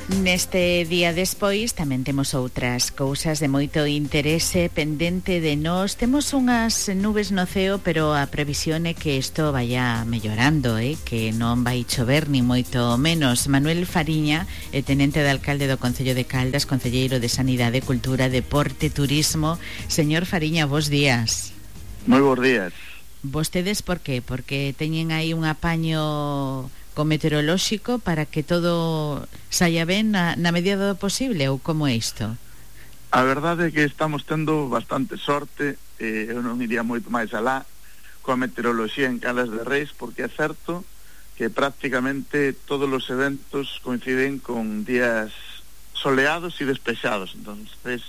Neste día despois tamén temos outras cousas de moito interese pendente de nós. Temos unhas nubes no ceo, pero a previsión é que isto vaya mellorando, que non vai chover ni moito menos. Manuel Fariña, tenente de alcalde do Concello de Caldas, concelleiro de Sanidade, Cultura, Deporte, Turismo. Señor Fariña, bos días. Moi bons días. Vostedes por qué? Porque teñen aí un apaño meteorolóxico para que todo saia ben na medida do posible, ou como é isto? A verdade é que estamos tendo bastante sorte, eu non iría moito máis alá coa meteoroloxía en Caldas de Reis, porque é certo que prácticamente todos os eventos coinciden con días soleados e despexados. Entonces,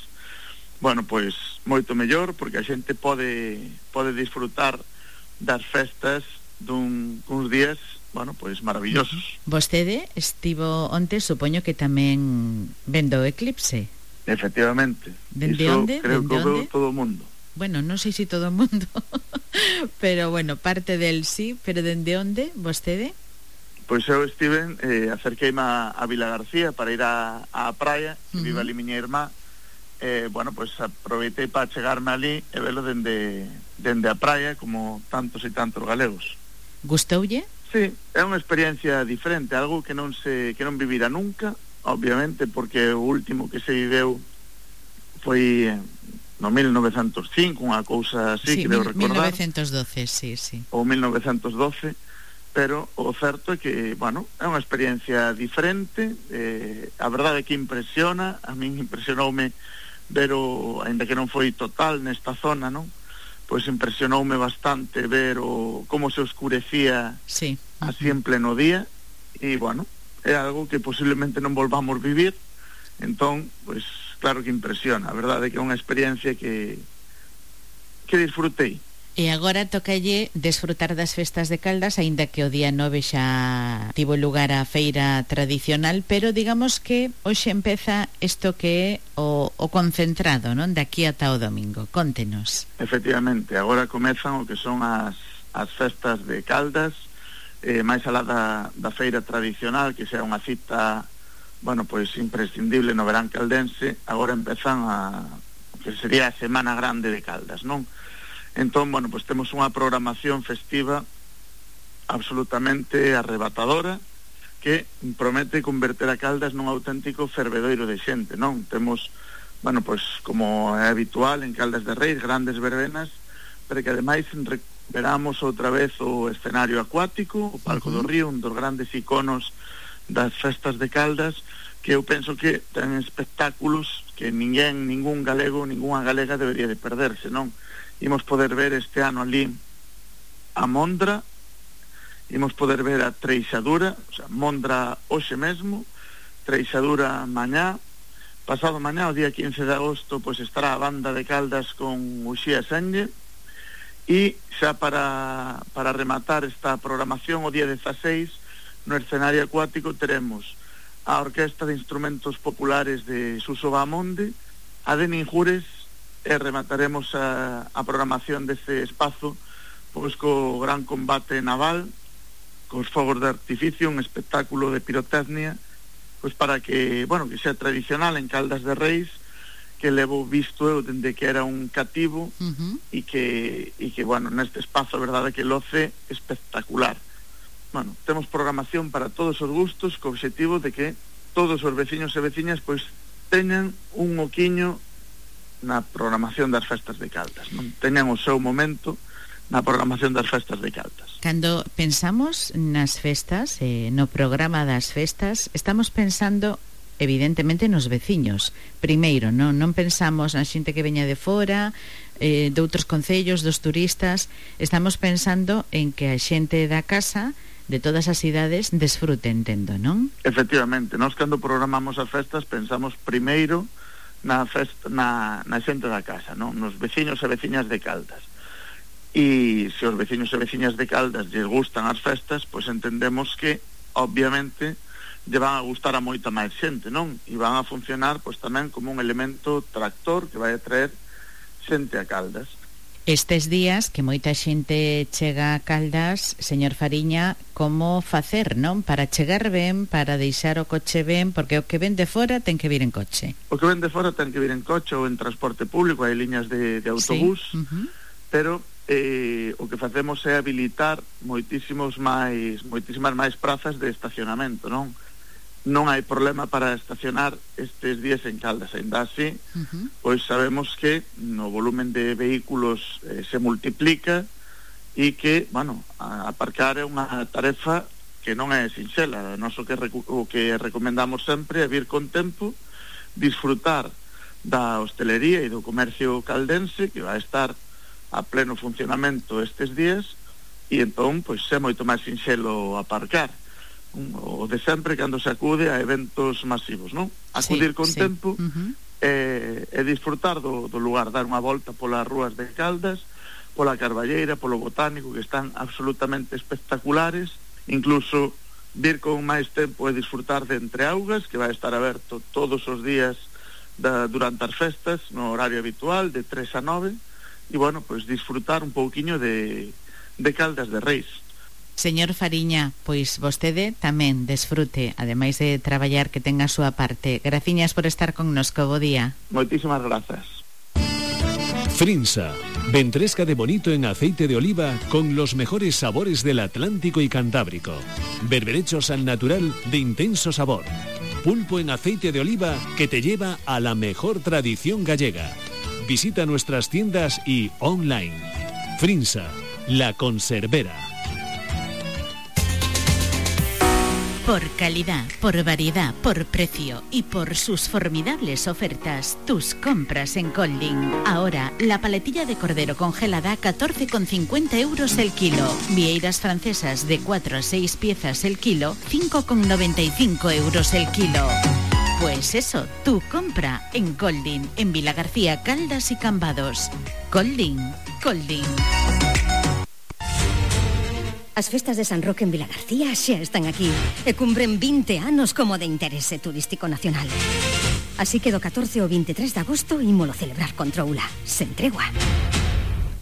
bueno, pois moito mellor, porque a xente pode disfrutar das festas duns días, bueno, pois maravillosos. Vostede estivo onte, supoño que tamén vendo o eclipse. Efectivamente. Dende onde? Creo que veo todo o mundo. Bueno, non sei se todo o mundo, pero bueno, parte del sí, pero dende onde, vostede? Pois eu estive, acerqueime a Vila García para ir á praia, que vive ali miña irmá. Bueno, pois aproveitei para chegarme ali e velo dende a praia, como tantos e tantos galegos. Gustoulle? Sí, é unha experiencia diferente, algo que non vivira nunca, obviamente, porque o último que se viveu foi no 1905, unha cousa así, sí, creo recordar. 1912, sí. Ou 1912, pero o certo é que, bueno, é unha experiencia diferente, a verdade é que impresiona, a min impresionoume ver ainda que non foi total nesta zona, non? Pois impresionoume bastante ver como se oscurecía así en pleno día, e, bueno, é algo que posiblemente non volvamos vivir. Entón, pois, claro que impresiona. A verdade é que é unha experiencia que disfrutei. E agora tocalle desfrutar das festas de Caldas, aínda que o día 9 xa tivo lugar a feira tradicional, pero digamos que hoxe empeza isto que é o concentrado, non? De aquí ata o domingo. Contenos. Efectivamente, agora comezan o que son as festas de Caldas, máis alá da feira tradicional, que xa é unha cita, bueno, pois imprescindible no verán caldense. Agora empezan que sería a Semana Grande de Caldas, non? Entón, bueno, pois temos unha programación festiva absolutamente arrebatadora que promete converter a Caldas nun auténtico fervedoiro de xente, non? Temos, bueno, pois como é habitual en Caldas de Reis, grandes verbenas, pero que ademais recuperamos outra vez o escenario acuático, o Palco do Río, un dos grandes iconos das festas de Caldas, que eu penso que ten espectáculos que ningún galego, ningunha galega debería de perderse, non? Imos poder ver este ano ali a Mondra, imos poder ver a Treixadura, o sea, Mondra hoxe mesmo, Treixadura mañá, pasado mañá, o día 15 de agosto, pois estará a banda de Caldas con Uxía Senlle, e xa para rematar esta programación, o día 16, no escenario acuático teremos a Orquesta de Instrumentos Populares de Suso Bahamonde, a de Ninjures, e remataremos a programación deste espazo pois co gran combate naval, cos fogos de artificio, un espectáculo de pirotecnia, pois para que, bueno, que sea tradicional en Caldas de Reis, que levo visto eu dende que era un cativo, e que, bueno, neste espazo a verdade que loce espectacular. Bueno, temos programación para todos os gustos, co obxectivo de que todos os veciños e veciñas pois teñan un oquiño na programación das festas de Caldas, non? Teñan o seu momento na programación das festas de Caldas. Cando pensamos nas festas, no programa das festas, estamos pensando evidentemente nos veciños. Primeiro, non pensamos na xente que veña de fora, de outros concellos, dos turistas. Estamos pensando en que a xente da casa, de todas as cidades, desfrute, entendo, non? Efectivamente, nós cando programamos as festas pensamos primeiro na xente da casa, non? Nos veciños e veciñas de Caldas. E se os veciños e veciñas de Caldas lles gustan as festas, pois entendemos que, obviamente, lle van a gustar a moita máis xente, non? E van a funcionar, pois tamén como un elemento tractor que vai a traer xente a Caldas. Estes días que moita xente chega a Caldas, señor Fariña, como facer, non? Para chegar ben, para deixar o coche ben, porque o que ven de fora ten que vir en coche. O que ven de fora ten que vir en coche ou en transporte público, hai liñas de autobús, sí. Pero o que facemos é habilitar moitísimas máis prazas de estacionamento, non? Non hai problema para estacionar estes días en Caldas, ainda así, pois sabemos que no volumen de vehículos se multiplica e que, bueno, aparcar é unha tarefa que non é sinxela. Nós o que recomendamos sempre é vir con tempo, disfrutar da hostelería e do comercio caldense, que vai estar a pleno funcionamento estes días, e entón, pois, é moito máis sinxelo aparcar. O de sempre cando se acude a eventos masivos, non? Acudir con tempo e disfrutar do lugar, dar unha volta polas rúas de Caldas, pola Carballeira, polo Botánico, que están absolutamente espectaculares, incluso vir con máis tempo e disfrutar de Entreaugas, que vai estar aberto todos os días durante as festas, no horario habitual, de 3 a 9, e, bueno, pois disfrutar un pouquiño de Caldas de Reis. Señor Fariña, pois vostede tamén desfrute, ademais de traballar, que tenga a súa parte. Graciñas por estar connosco, bo día. Moitísimas grazas. Frinsa, ventresca de bonito en aceite de oliva con los mejores sabores del Atlántico y Cantábrico. Berberechos al natural de intenso sabor. Pulpo en aceite de oliva que te lleva a la mejor tradición gallega. Visita nuestras tiendas y online. Frinsa, la conservera. Por calidad, por variedad, por precio y por sus formidables ofertas, tus compras en Colding. Ahora, la paletilla de cordero congelada a 14,50 euros el kilo. Vieiras francesas de 4 a 6 piezas el kilo, 5,95 euros el kilo. Pues eso, tu compra en Colding, en Vilagarcía, Caldas y Cambados. Colding. As festas de San Roque en Vilagarcía xa están aquí e cumpren 20 anos como de interese turístico nacional. Así que do 14 ao 23 de agosto ímolo celebrar con troula, sen tregua.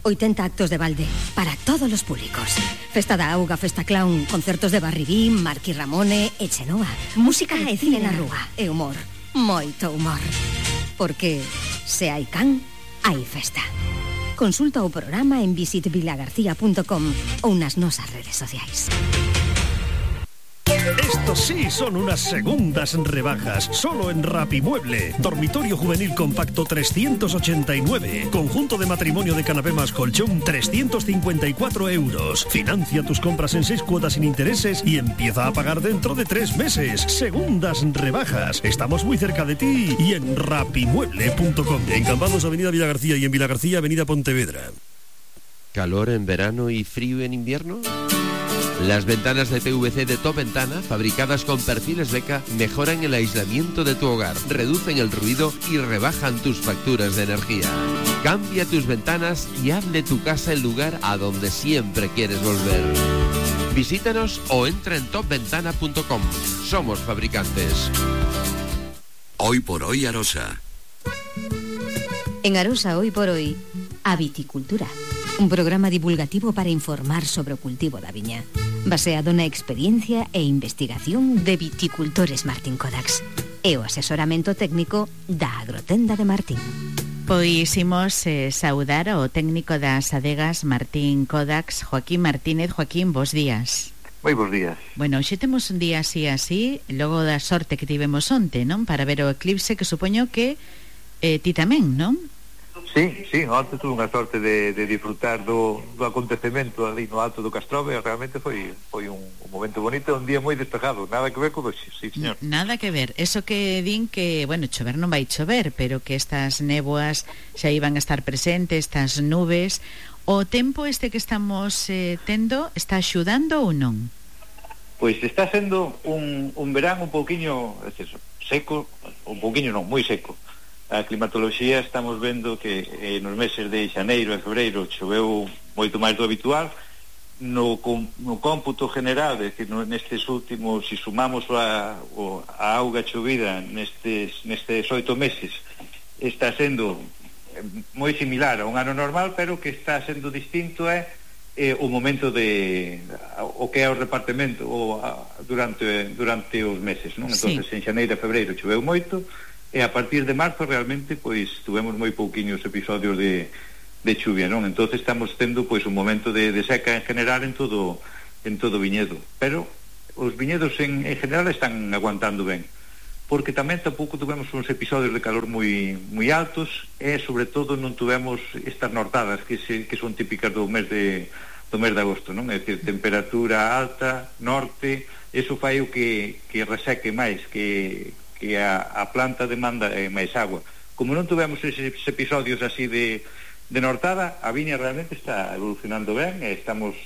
80 actos de balde para todos os públicos. Festa da auga, festa clown, concertos de Barribín, Marqui Ramone e Chenoa. Música e cine na rúa e humor, moito humor. Porque se hai can, hai festa. Consulta o programa en visitvilagarcía.com ou nas nosas redes sociais. Estos sí son unas segundas rebajas, solo en Rapimueble. Dormitorio juvenil compacto 389. Conjunto de matrimonio de canapé más colchón 354 euros. Financia tus compras en 6 cuotas sin intereses y empieza a pagar dentro de 3 meses. Segundas rebajas. Estamos muy cerca de ti y en rapimueble.com. En Cambados, Avenida Villagarcía, y en Vilagarcía, Avenida Pontevedra. ¿Calor en verano y frío en invierno? Las ventanas de PVC de Top Ventana, fabricadas con perfiles Beca, mejoran el aislamiento de tu hogar, reducen el ruido y rebajan tus facturas de energía. Cambia tus ventanas y haz de tu casa el lugar a donde siempre quieres volver. Visítanos o entra en topventana.com. Somos fabricantes. Hoy por hoy Arosa. En Arosa Hoy por Hoy, a viticultura. Un programa divulgativo para informar sobre o cultivo da viña, baseado na experiencia e investigación de viticultores Martín Kodax e o asesoramento técnico da Agrotenda de Martín. Pois imos saudar ao técnico das adegas Martín Kodax, Joaquín Martínez. Joaquín, bos días. Moi bos días. Bueno, hoxe temos un día así, logo da sorte que tivemos onte, non? Para ver o eclipse, que supoño que ti tamén, non? Sí, onte tuve unha sorte de disfrutar do acontecemento ali no alto do Castrove. Realmente foi un momento bonito, un día moi despejado, nada que ver con hoxe, sí, señor. Nada que ver, eso que din que, bueno, chover non vai chover, pero que estas néboas xa iban a estar presentes, estas nubes. O tempo este que estamos tendo está axudando ou non? Pois está sendo un verán un pouquiño seco, un pouquiño non, moi seco. A climatoloxía estamos vendo que nos meses de xaneiro e febreiro choveu moito máis do habitual. No cómputo general, é dicir, nestes últimos, se sumamos a auga chovida nestes 8 meses, está sendo moi similar a un ano normal, pero que está sendo distinto é o momento de o que é o repartimento durante os meses, non? Entonces en xaneiro e febreiro choveu moito, e a partir de marzo realmente pois tuvemos moi pouquiños episodios de chuvia, non? Entonces estamos tendo pois un momento de seca en general en todo o viñedo, pero os viñedos en general están aguantando ben, porque tamén tampouco tuvemos uns episodios de calor moi altos, e sobre todo non tuvemos estas nortadas que son típicas do mes de agosto, non? É dicir, temperatura alta, norte, eso fai o que reseque máis, que a planta demanda máis agua. Como non tuvemos eses episodios así de nortada, a viña realmente está evolucionando ben, e estamos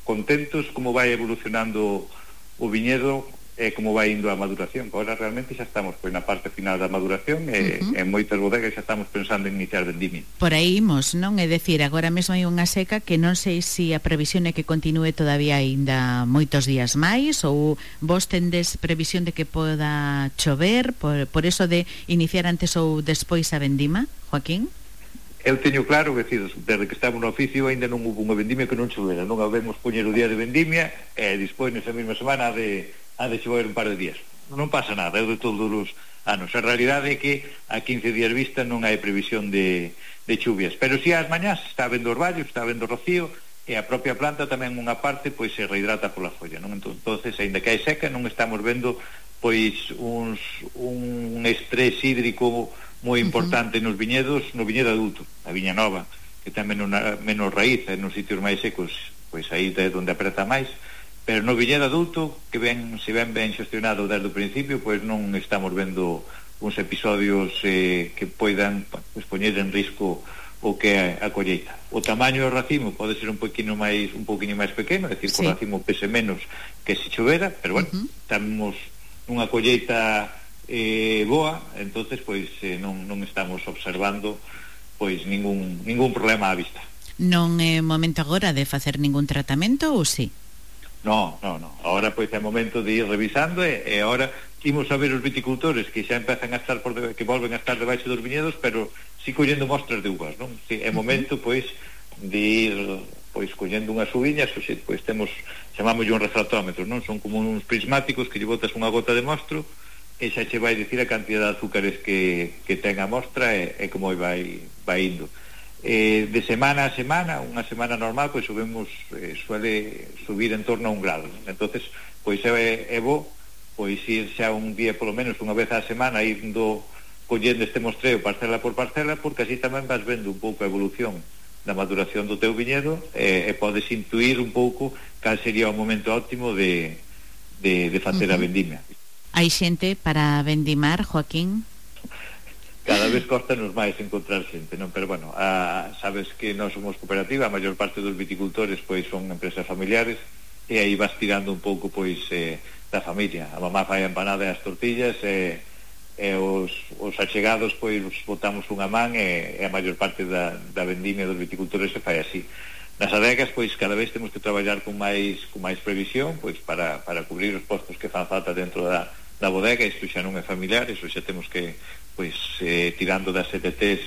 contentos como vai evolucionando o viñedo e como vai indo a maduración. Agora realmente xa estamos na parte final da maduración, e en moitas bodegas xa estamos pensando en iniciar vendimia. Por aí imos, non? É dicir, agora mesmo hai unha seca que non sei se a previsión é que continúe todavía aínda moitos días máis, ou vos tendes previsión de que poda chover, por eso de iniciar antes ou despois a vendima, Joaquín? Eu teño claro, que desde que estamos no oficio ainda non hubo unha vendimia que non chovera, non habemos poñer o día de vendimia e despois nesa mesma semana ha de chover un par de días. Non pasa nada, é de todos os anos. A realidade é que a 15 días vista non hai previsión de chuvias, pero si ás mañás está vendo orvallo, está vendo rocío, e a propia planta tamén unha parte pois se rehidrata pola folla, non? Entonces, aínda que hai seca, non estamos vendo pois un estrés hídrico moi importante nos viñedos, no viñedo adulto, a viña nova, que ten menos raíz, nos sitios máis secos, pois aí é onde apreta máis, pero no viñedo adulto, que se ven ben xestionado desde o principio, pois non estamos vendo uns episodios que poidan poñer en risco o que é a colleita. O tamaño do racimo pode ser un poquinho máis pequeno, é dicir, que o racimo pese menos que se chovera, pero bueno, estamos nunha colleita boa, entonces pois non estamos observando pois ningún problema á vista. Non é momento agora de facer ningún tratamento, ou si? No. Ahora pois é momento de ir revisando, e ahora imos a ver os viticultores que xa empezan a estar que volven a estar debaixo dos viñedos, pero si collendo mostras de uvas, non? Si, é momento pois de ir pois collendo unhas uviñas, pois chamamos un refractómetro, non? Son como uns prismáticos que lle botas unha gota de mostro e xa che vai dicir a cantidad de azúcares que ten a mostra e como vai indo. De semana a semana, unha semana normal, pois suele subir en torno a 1 grado. Entonces, pois é bo pois ir xa un día, polo menos unha vez á semana, indo collendo este mostreo parcela por parcela, porque así tamén vas vendo un pouco a evolución da maduración do teu viñedo, e podes intuir un pouco cal sería o momento óptimo de facer a vendimia. Hai xente para vendimar, Joaquín? Cada vez costanos máis encontrar xente, non? Pero bueno, sabes que nós somos cooperativa, a maior parte dos viticultores pois son empresas familiares, e aí vas tirando un pouco pois da familia. A mamá fai a empanada e as tortillas, e os achegados pois botamos unha man, e a maior parte da vendimia dos viticultores se fai así. Nas adegas pois cada vez temos que traballar con máis previsión, pois para cubrir os postos que fan falta dentro da bodega. Isto xa non é familiar, iso xa temos que pois tirando das ETTs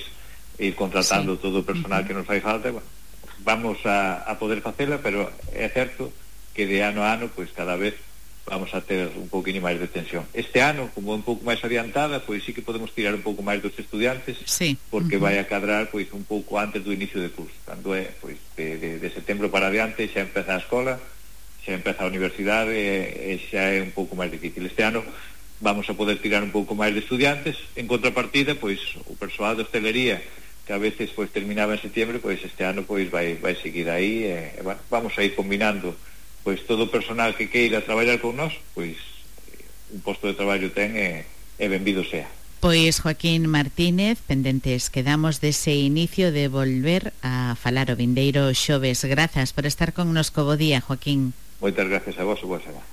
e ir contratando todo o personal que nos fai falta. Bueno, vamos a poder facela, pero é certo que de ano a ano pois cada vez vamos a ter un pouquinho máis de tensión. Este ano, como é un pouco máis adiantada, pois sí que podemos tirar un pouco máis dos estudiantes, porque vai a cadrar pois un pouco antes do inicio de curso. Cando é pois de setembro para adiante xa empeza a escola, xa empeza a universidade, e xa é un pouco máis difícil. Este ano vamos a poder tirar un pouco máis de estudiantes. En contrapartida, pois o persoal de hostelería, que a veces pois terminaba en setembro, pois este ano pois vai seguir aí, e bueno, vamos a ir combinando pois todo o personal que queira traballar con nós, pois un posto de traballo ten, e benvido sea. Pois Joaquín Martínez, pendentes quedamos dese inicio de volver a falar o vindeiro xoves. Grazas por estar connosco. Bo día, Joaquín. Moitas gracias a vos, boa semana.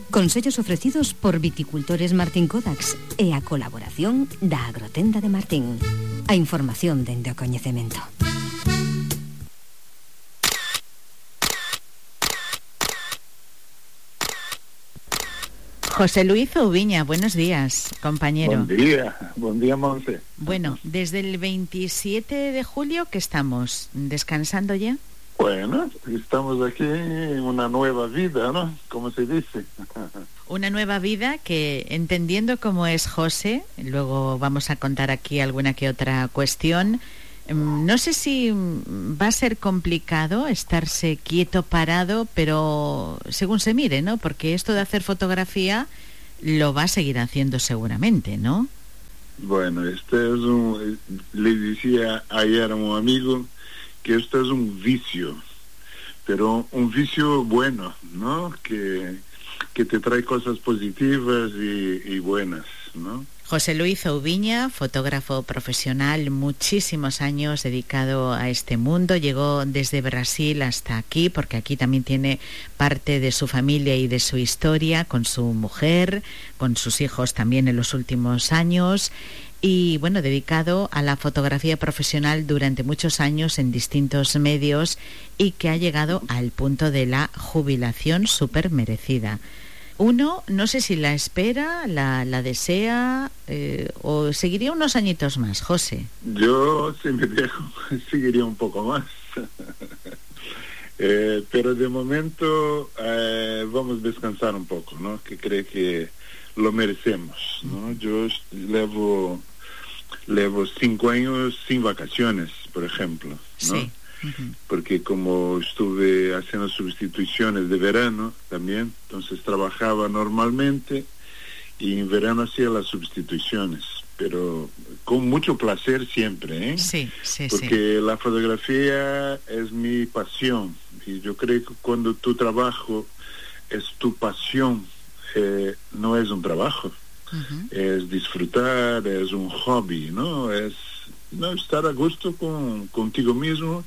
Consellos ofrecidos por Viticultores Martín Codax e a colaboración da Agrotenda de Martín. A información dende o coñecemento. José Luis Oubiña, buenos días, compañero. Buen día, Monse. Bueno, desde el 27 de julio que estamos descansando ya. Bueno, estamos aquí en una nueva vida, ¿no? Como se dice. Una nueva vida que, entendiendo cómo es José, luego vamos a contar aquí alguna que otra cuestión. No sé si va a ser complicado estarse quieto, parado, pero según se mire, ¿no? Porque esto de hacer fotografía lo va a seguir haciendo seguramente, ¿no? Bueno, le decía ayer a un amigo que esto es un vicio, pero un vicio bueno, ¿no? Que te trae cosas positivas y buenas, ¿no? José Luis Oubiña, fotógrafo profesional, muchísimos años dedicado a este mundo, llegó desde Brasil hasta aquí, porque aquí también tiene parte de su familia y de su historia, con su mujer, con sus hijos también en los últimos años, y bueno, dedicado a la fotografía profesional durante muchos años en distintos medios y que ha llegado al punto de la jubilación súper merecida. Uno, no sé si la espera, la desea o seguiría unos añitos más, José. Yo, si me dejo, seguiría un poco más. Pero de momento vamos a descansar un poco, ¿no? Que creo que lo merecemos, ¿no? Yo llevo 5 años sin vacaciones, por ejemplo, ¿no? Sí. Porque como estuve haciendo sustituciones de verano también, entonces trabajaba normalmente y en verano hacía las sustituciones, pero con mucho placer siempre, ¿eh? Sí. Porque la fotografía es mi pasión y yo creo que cuando tu trabajo es tu pasión, no es un trabajo, es disfrutar, es un hobby, ¿no? Es estar a gusto contigo mismo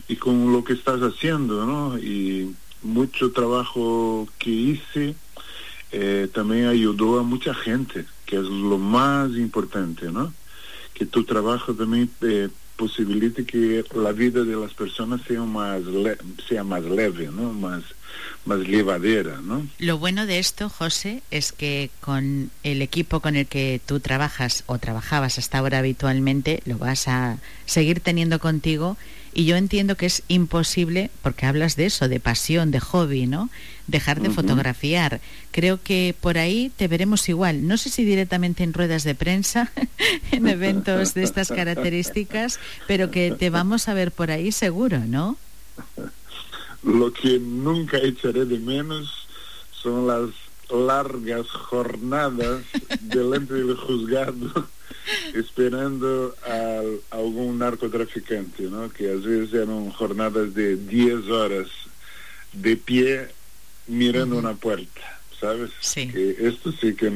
y con lo que estás haciendo, ¿no? Y mucho trabajo que hice también ayudó a mucha gente, que es lo más importante, ¿no? Que tu trabajo también posibilite que la vida de las personas sea más leve, ¿no? Más llevadera, ¿no? Lo bueno de esto, José, es que con el equipo con el que tú trabajas o trabajabas hasta ahora habitualmente, lo vas a seguir teniendo contigo, y yo entiendo que es imposible, porque hablas de eso, de pasión, de hobby, ¿no? Dejar de fotografiar. Creo que por ahí te veremos igual. No sé si directamente en ruedas de prensa, en eventos de estas características, pero que te vamos a ver por ahí seguro, ¿no? Lo que nunca echaré de menos son las largas jornadas delante del juzgado esperando a algún narcotraficante, ¿no? Que a veces eran jornadas de 10 horas de pie mirando una puerta, ¿sabes? Sí. Que esto sí que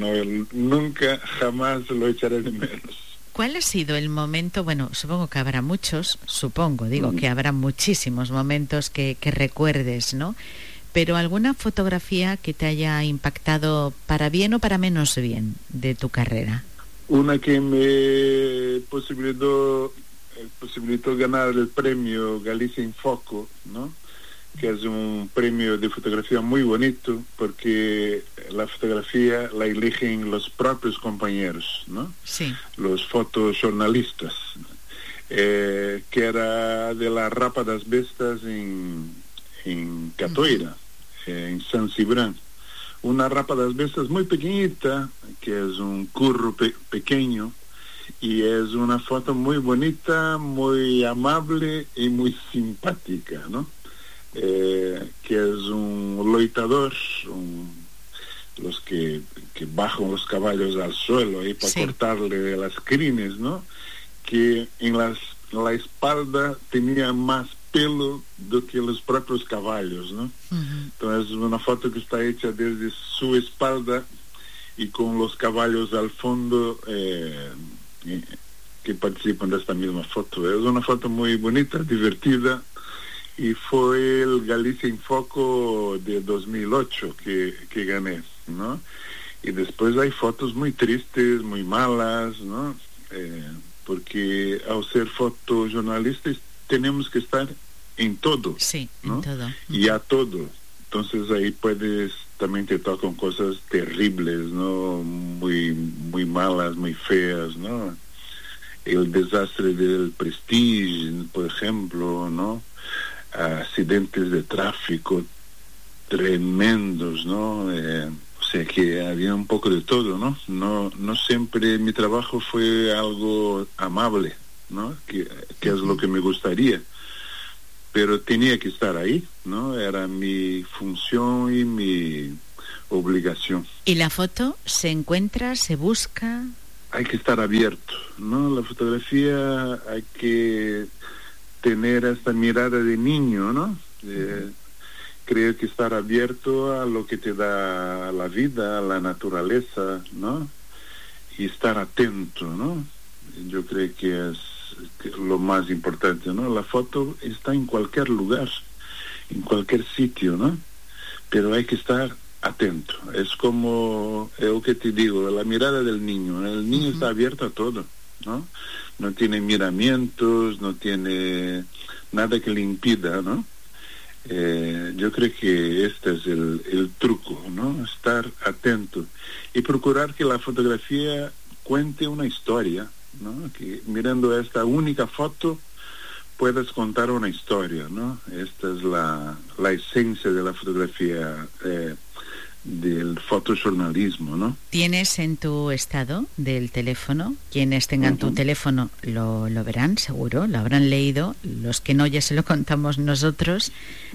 nunca jamás lo echaré de menos. ¿Cuál ha sido el momento? Bueno, supongo que habrá muchos, que habrá muchísimos momentos que recuerdes, ¿no? Pero alguna fotografía que te haya impactado para bien o para menos bien de tu carrera. Una que me posibilitó ganar el premio Galicia in Foco, ¿no? Que es un premio de fotografía muy bonito, porque la fotografía la eligen los propios compañeros, ¿no? Sí. Los fotojornalistas, que era de la Rapa das Bestas en Catoira, en San Cibrán. Una Rapa das Bestas muy pequeñita, que es un curro pequeño, y es una foto muy bonita, muy amable y muy simpática, ¿no? Que es un loitador, los que bajan los caballos al suelo ahí para cortarle las crines, ¿no? Que en la espalda tenía más pelo do que los propios caballos, ¿no? Entonces es una foto que está hecha desde su espalda y con los caballos al fondo que participan de esta misma foto. Es una foto muy bonita, divertida, y fue el Galicia in Foco de 2008 que gané, ¿no? Y después hay fotos muy tristes, muy malas, ¿no? Porque al ser fotojornalistas tenemos que estar en todo, sí, ¿no? En todo. Y a todo. Entonces ahí puedes también te tocan cosas terribles, ¿no? Muy malas, muy feas, ¿no? El desastre del Prestige, por ejemplo, ¿no? Accidentes de tráfico tremendos, ¿no? O sea que había un poco de todo, ¿no? No siempre mi trabajo fue algo amable, ¿no? Que es lo que me gustaría. Pero tenía que estar ahí, ¿no? Era mi función y mi obligación. ¿Y la foto se encuentra, se busca? Hay que estar abierto, ¿no? La fotografía hay que tener esta mirada de niño, ¿no? Creo que estar abierto a lo que te da la vida, a la naturaleza, ¿no? Y estar atento, ¿no? Yo creo que es lo más importante, ¿no? La foto está en cualquier lugar, en cualquier sitio, ¿no? Pero hay que estar atento. Es como lo que te digo, la mirada del niño. El niño está abierto a todo, ¿no? No tiene miramientos, no tiene nada que le impida, ¿no? Yo creo que este es el truco, ¿no? Estar atento y procurar que la fotografía cuente una historia, ¿no? Que mirando esta única foto puedas contar una historia, ¿no? Esta es la esencia de la fotografía, del fotojornalismo, ¿no? ¿Tienes en tu estado del teléfono? Quienes tengan tu teléfono lo verán, seguro, lo habrán leído. Los que no, ya se lo contamos nosotros.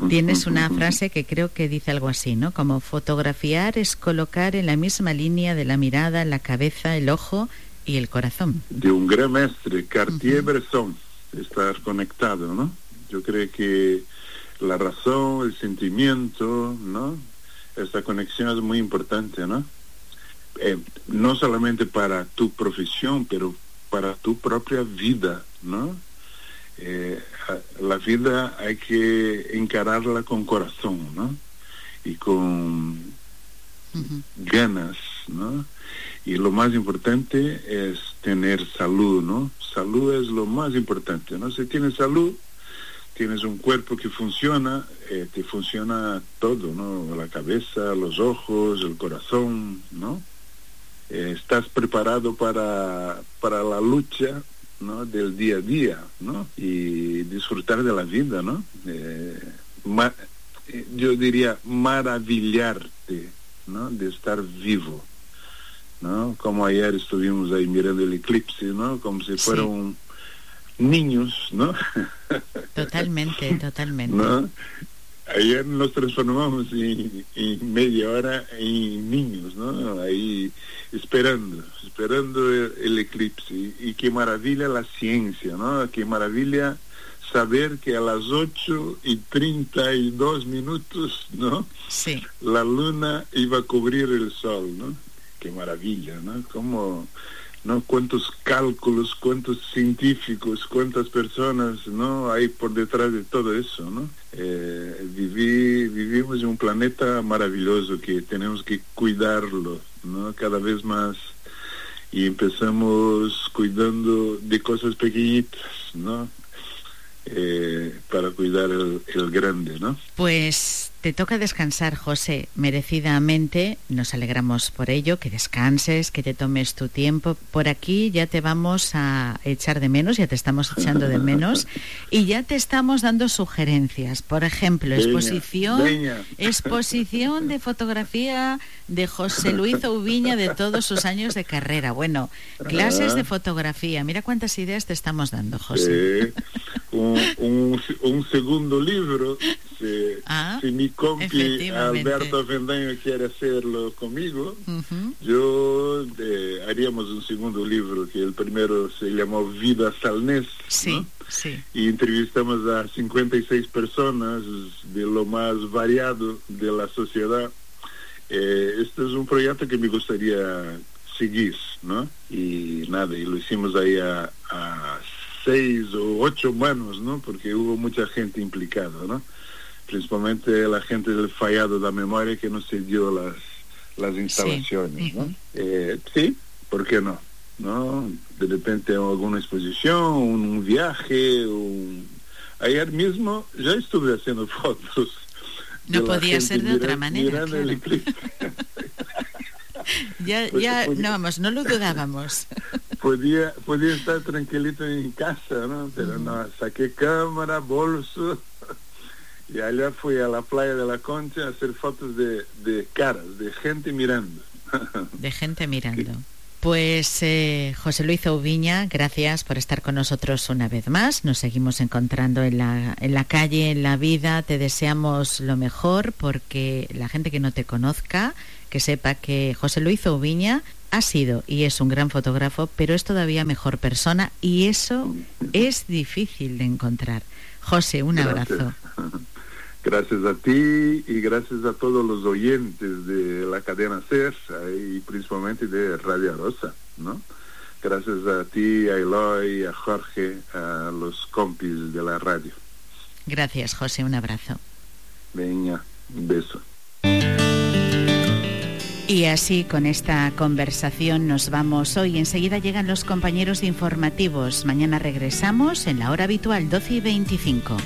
Tienes una frase que creo que dice algo así, ¿no? Como fotografiar es colocar en la misma línea de la mirada, la cabeza, el ojo y el corazón. De un gran maestre, Cartier-Bresson, estar conectado, ¿no? Yo creo que la razón, el sentimiento, ¿no? Esta conexión es muy importante, ¿no? No solamente para tu profesión, pero para tu propia vida, ¿no? La vida hay que encararla con corazón, ¿no? Y con ganas, ¿no? Y lo más importante es tener salud, ¿no? Salud es lo más importante, ¿no? Si tienes salud, tienes un cuerpo que funciona, te funciona todo, ¿no? La cabeza, los ojos, el corazón, ¿no? Estás preparado para la lucha, ¿no? Del día a día, ¿no? Y disfrutar de la vida, ¿no? Yo diría maravillarte, ¿no? De estar vivo, ¿no? Como ayer estuvimos ahí mirando el eclipse, ¿no? Como si fueran niños, ¿no? Totalmente. ¿No? Ayer nos transformamos en media hora en niños, ¿no? Ahí esperando el eclipse. Y qué maravilla la ciencia, ¿no? Qué maravilla saber que a las 8:32, ¿no? Sí. La luna iba a cubrir el sol, ¿no? Qué maravilla, ¿no? Como, ¿no? Cuántos cálculos, cuántos científicos, cuántas personas, ¿no? Hay por detrás de todo eso, ¿no? Vivimos en un planeta maravilloso que tenemos que cuidarlo, ¿no? Cada vez más, y empezamos cuidando de cosas pequeñitas, ¿no? Para cuidar el grande, ¿no? Pues te toca descansar, José, merecidamente. Nos alegramos por ello, que descanses, que te tomes tu tiempo. Por aquí ya te vamos a echar de menos, ya te estamos echando de menos y ya te estamos dando sugerencias. Por ejemplo, exposición de fotografía de José Luis Oubiña de todos sus años de carrera. Bueno, clases de fotografía. Mira cuántas ideas te estamos dando, José. Un segundo libro, si mi compi Alberto Vendaño quiere hacerlo conmigo, yo haríamos un segundo libro, que el primero se llamó Vida Salnés, ¿no? Sí. Y entrevistamos a 56 personas de lo más variado de la sociedad. Este es un proyecto que me gustaría seguir, ¿no? Y nada, y lo hicimos ahí a 6 o 8 manos, ¿no? Porque hubo mucha gente implicada, ¿no? Principalmente la gente del Fallado da Memoria, que nos cedió las instalaciones, ¿no? Sí, ¿por qué no? ¿No? De repente alguna exposición, un viaje, ayer mismo ya estuve haciendo fotos No podía ser de otra manera. Mirando el eclipse. No lo dudábamos. Podía estar tranquilito en casa, ¿no? Pero no, saqué cámara, bolso, y allá fui a la playa de la Concha a hacer fotos de caras, de gente mirando. De gente mirando. Pues José Luis Oubiña, gracias por estar con nosotros una vez más. Nos seguimos encontrando en la calle, en la vida. Te deseamos lo mejor, porque la gente que no te conozca, que sepa que José Luis Oubiña ha sido y es un gran fotógrafo, pero es todavía mejor persona, y eso es difícil de encontrar. José, un abrazo. Gracias a ti y gracias a todos los oyentes de la cadena SER y principalmente de Radio Arosa, ¿no? Gracias a ti, a Eloy, a Jorge, a los compis de la radio. Gracias, José, un abrazo. Venga, un beso. Y así, con esta conversación nos vamos hoy. Enseguida llegan los compañeros informativos. Mañana regresamos en la hora habitual, 12:25.